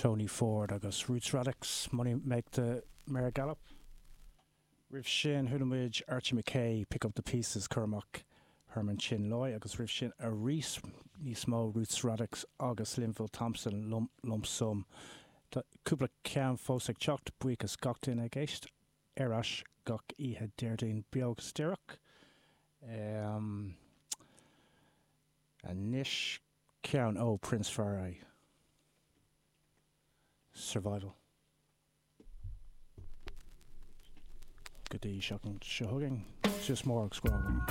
Tony Ford agus Roots Radics, Money Make the Mare Gallop. Roimh sin, chuala muid Archie McKay, Pick Up the Pieces, cur amach Herman Chin Loy, agus roimh sin arís níos mó Roots Radics agus Linval Thompson, Lump Sum. Tá cúpla ceann fós ag teacht, buíochas gach duine ag éist. Ar ais gach oíche Déardaoin beo agus díreach. Anois ceann ó Prince Far I. Survival. Go dtí seachtain seo chugainn, suas mór agus grá agam.